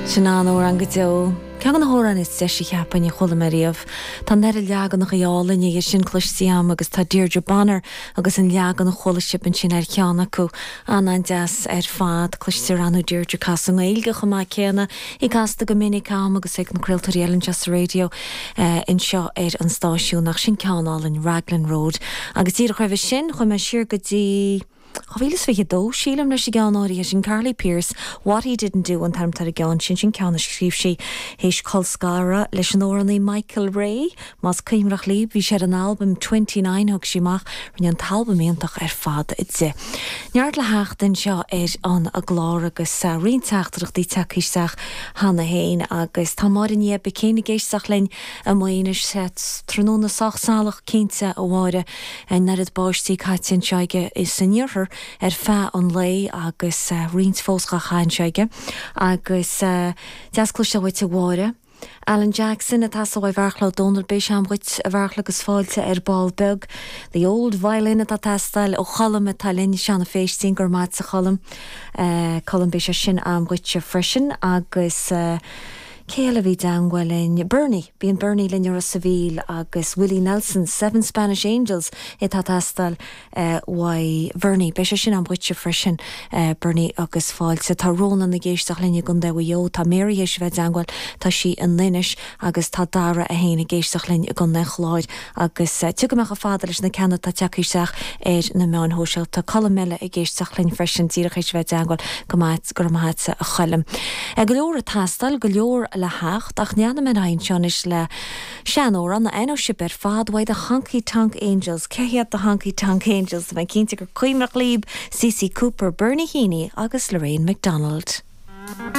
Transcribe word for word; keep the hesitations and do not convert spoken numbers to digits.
Sin an-amhrán go deo. Ceann de na hamhráin is deise cheapfainn a chuala mé riamh. Tá an oiread leaganacha álainne dhe sin cloiste agam agus tá Deirdre Bonner agus an leagan a chuala sibh ansin ar cheann acu an-an-deas ar fad cloistear anu Deirdre cas an Ghaeilge chomh maith céanna í casta go minic agam agus ag na craoltóirí eile anseo sa raidió eh, anseo ar an stáisiún ach sin ceann álainn Raglan Road. Agus díreach roimhe sin chuaigh mé siar go dtí Dhá mhíle is fiche dó sílim leis an gceann áirithe sin Carly Pearce, What He Didn't Do an t-ainm ar an gceann sin sin ceann a scríobh sí théis colscaradh leis an amhránaí Michael Ray, Más cuimhneach libh bhí sé ar an albam twenty nine thug sí amach rinne an t-albam iontach ar fad di. Neart le theacht anseo ar an gclár agus uh, roinnt teachtaireachtaí tagtha isteach cheana féin agus tá Máire Ní Céin ag éisteacht linn i Maigh Eo tráthnóna sách salach cinnte a Mháire an oiread báistí caite anseo is san iarthar ar feadh an lae agus uh, roinnt fós á caitheamh aige agus uh, deas cloisteáil uait a Mháire. Alan Jackson atá sa bhharchla Donald bé seamghuit a bhharchla agus fáilte ar ball beag. The Old Violin atá teastáil ó Cholm atá linn Seana Féistín gur mat sa Cholm. Uh, Colm beidh sé sin agam dhuitse freisin agus uh, Cé bhí i dteagmháil linn Bernie, bíonn Bernie linn ar sa bhíl agus Willie Nelson, Seven Spanish Angels atá teastáil uh, uaidh Bernie, Beidh sé sin agam dhuitse freisin uh, Bernie agus fáilte tá Rónán ag éisteacht linn i gContae Mhaigh Eo tá Mary théis bheith i dteagmháil tá sí in Inis agus tá Dara a haon ag éisteacht linn i gContae an Chláir agus uh, tugadh a fada leis na ceanna tá tagtha isteach ar na meáin shóisialta Colm eile ag éisteacht linn freisin díreach théis bheith i dteagmháil go maith go maith a Choilm. Go leor ag teastáil go leor le theacht ach neanna men hain seis le seanamhrán na eno sib ar fad uaidh the Honky Tonk Angels, cé hiad the Honky Tonk Angels, mé cinnte gur cuimhneach libh CC Cooper, Bernie Heaney agus Lorraine McDonald.